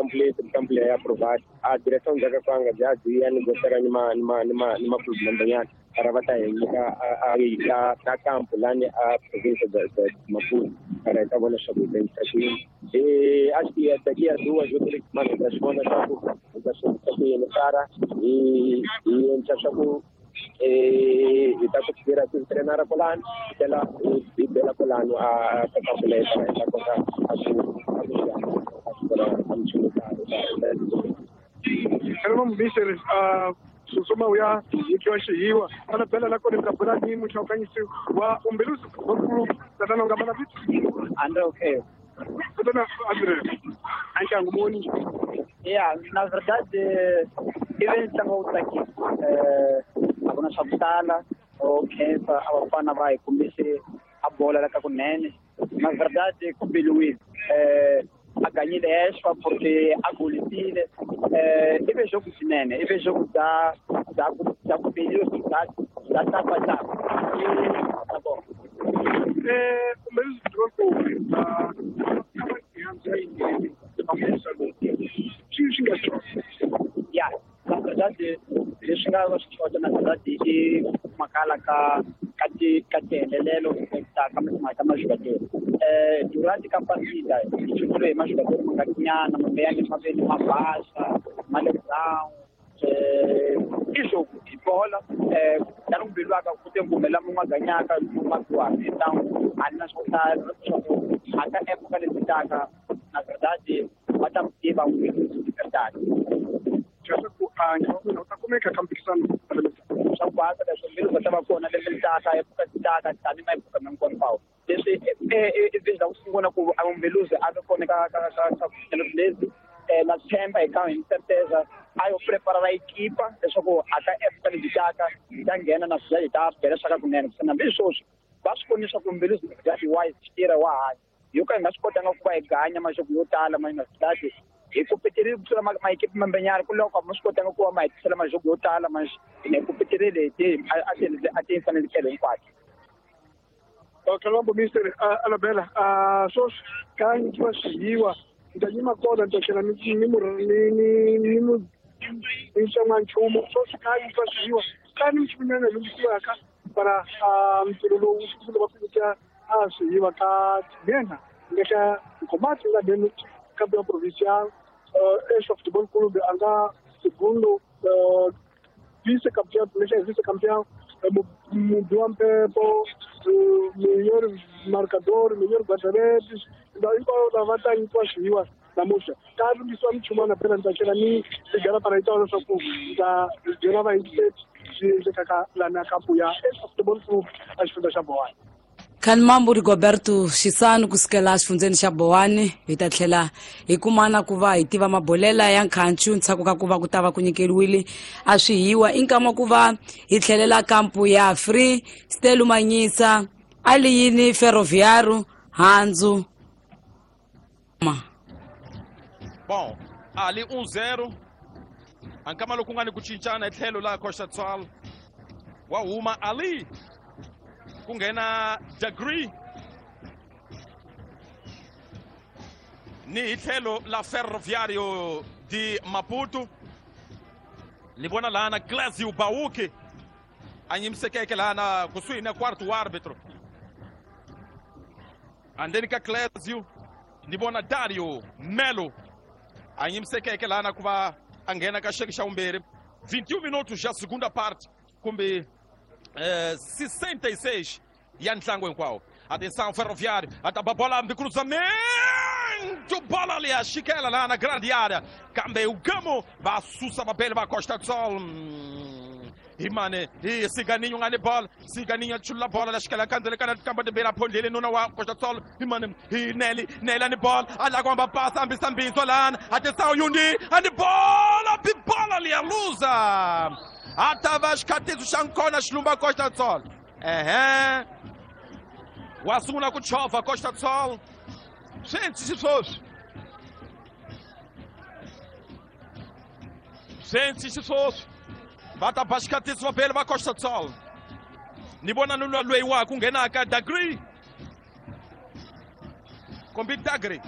complete, campo leyi aprovado. A direção ndzhaku ka kwanga bya byi ya negociar ni ma ni ma ni ma ni ma clube mambanyana para va ta hi nyika a campo lani a província de Maputo para hi ta vona leswaku hi ta yisa kwini. Acho que daqui a 2 ou 3 semanas hi ta swi vona swa ku hi ta swi endlisa ku yini para hi endla swa ku hi ta ku tirha ku trenara kwalano hi tlhela hi bela kwalano a ka kampo leyi hi ta kota a ku a ku a minchumu Hello, Mr. Susuma uya nyikiwa xihiwa ana bela la kona ta bula ni muhlawukanyisi wa Umbeluzi Football Club tatana nga mana vito Andre okay tatana Andre ankangu moni ya na verdade ive ntlangu wa ku tsakisa a ku na swa ku tala o khensa a vafana va hi kombise a bola la ka kunene na verdade ku biliwile a ganyile hexwa porque a golisile ive jogo swinene ive jogo bya bya ku bya ku biliwa bya bya tapa tapa ta bom Umbeluzi Football Club swi nga ya na verdade leswi nga va swi xota na verdade i makala ka ka ti ka tihelelelo ta ka timhaka ta majogador durante ka partida hi chutile hi majogador ma nga nyana mambe maveni ma basa ma le brown i jogo hi bola tani ku biliwaka ku te ngumela mun'we a ganyaka mun'we a biwaka então a ni na swo hlaya swa ku a ka epoka leti taka na verdade va ta tiva Umbeluzi de verdade leswaku a u ta kumeka ka mphikizano swa ku basa leswo Umbeluzi va ta va kona lembe leri taka epoka ti taka tani maepoka hinkwawo leswi i vision ku sungula ku Umbeluzi a ve kona ka ka ka ka lezi na tshemba hi ka hi certeza a yo preparara ekipa leswaku a ka epoka leti taka hi ta nghena na swi hi ta bela swa ka kunene ku hambi sweswi va swi voni leswaku Umbeluzi wise tirha wa hanya yo ka hi nga swi kotanga ku va hi ganya maxoko yo tala ma nga swi hi kompeterile ku tlula maekipi mambenyana ku loko ma swi kotanga ku va ma hetisela maxoko yo tala ma hi kompeterile hi ti a ti fanele tlhelo hinkwato. Kalombo Mister Alabela sweswi ka nyikiwa swihiwa ni ta yima kona ni ta tlhela ni ni mu ni ni ni mu ni tsonga nchumu sweswi ka nyikiwa swihiwa ka ni nchumu nyana lunghisiwaka para ntirho lowu sungula va ku nyika a swihiwa ka tinhenha nga xa Nkomati nga denu campeão provincial Extra Futebol Clube a nga segundo vice-campeão vice-campeão mubi wa mpepo melhor marcador melhor guarda-redes ndhawu hinkwavo lava ta nyikiwa swihiwa namuntlha ka lunghisiwa minchumana phela ni ta tlhela ni ligala para yi ta leswaku ni ta byela vayingiseri swi endlekaka lana kampu ya Extra Futebol Club a xifundza xa Bowani. Khanimambu Rigoberto Xisanu kusukela xifundzeni xa Bowani hi ta tlhela hi kumana ku va hi tiva mabolela ya nkhancu ntshaku ka ku va ku ta va ku nyikeriwile a swihiwa i nkama ku va hi tlhelela kampu ya Free Stelu Manyisa Aliyini Ferroviário Handzu ma Bom, ali 1-0. Ankama loku nga ni ku cincana hi tlhelo la Costa Tswal. Wa huma Ali. Ku nghena Degree. Ni hi tlhelo la Ferroviário de Maputo. Ni vona laha na Clésio Bauque. A nyimisekeke laha na kusuhi na quarto árbitro. Andeni ka Clésio. Ni vona Dario Melo. A nyimisekeke laha na ku va a nghena ka xeke xa vumbirhi. 21 minutos já segunda parte kumbe 66 ya ntlangu hinkwawo. Atenção Ferroviário, ataba bola ambi cruzamento, bola ali a Chiquela lá na grande área. Kambe o Gamo va susa mapele va Costa do Sol. Imane, e Ciganinho ngane bola, Ciganinho chula bola la Chiquela kanzele kana kamba de bela phondele nuna wa Costa do Sol. Imane, e Nelly, Nelly ane bola, ala kwamba passa ambisa mbizo lana. Atenção Yundi, ane bola, bola ali a luza. Atava xikatiso xa nkona xilumba Costa do Sol. Ehe. Wa sungula ku chovha Costa do Sol. Swi endlisi sweswi. Swi endlisi sweswi. Va ta ba xikatiso va bele va Costa do Sol. Ni vona nuna loyi wa ku nghenaka Degree. Kumbe Dagri.